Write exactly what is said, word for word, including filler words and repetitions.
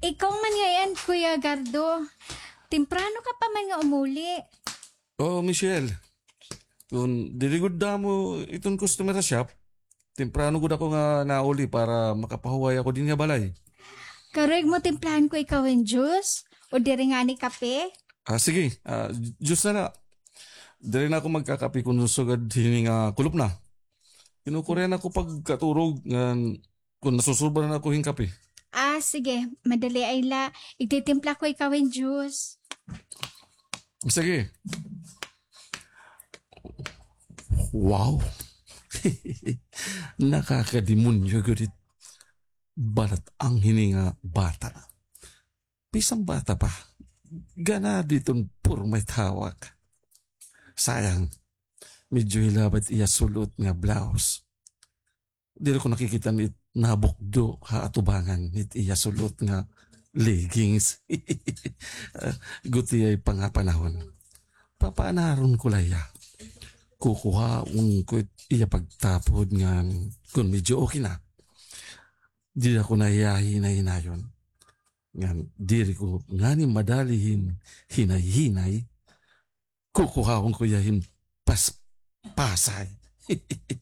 Ikaw man ngay-an, Kuya Gardo. Temprano ka pa man nga umuli. Oh, Michelle. Kon diri gud damo iton customer ha shop, temprano gud ako nga nauli para makapahuway ako dinhi ha balay. Karuyag mo timplahan ko ikaw hin juice? O diri ngani kape? Ah, sige. Ah, juice na la. Diri na ako magkakape kon sugad hini nga kulop na. Kinukurya na ako pagkaturog ngan kon nasusurba na ako hin kape. Ah, sige. Madali ay la. Igtitimpla ko ikaw hin juice. Sige. Wow. Nakakademonyo gud it balat-ang hini nga bata. Bisan bata pa, ganado iton porma it hawak. Sayang, medyo hilaba it iya sul-ot nga blouse. Diri ko nakikita it nabukdo ha atubangan hit iya sul-ot nga leggings. Gutiay pa nga panahon. Papaanaron ko la hiya. Kukuhaon ko it iya pagtapod ngan kon medyo okay na. Diri ako na hiya hinay-hinayon. Ngan diri ko ngani madali hin hinay-hinay. Kukuhaon ko hiya hin paspasay.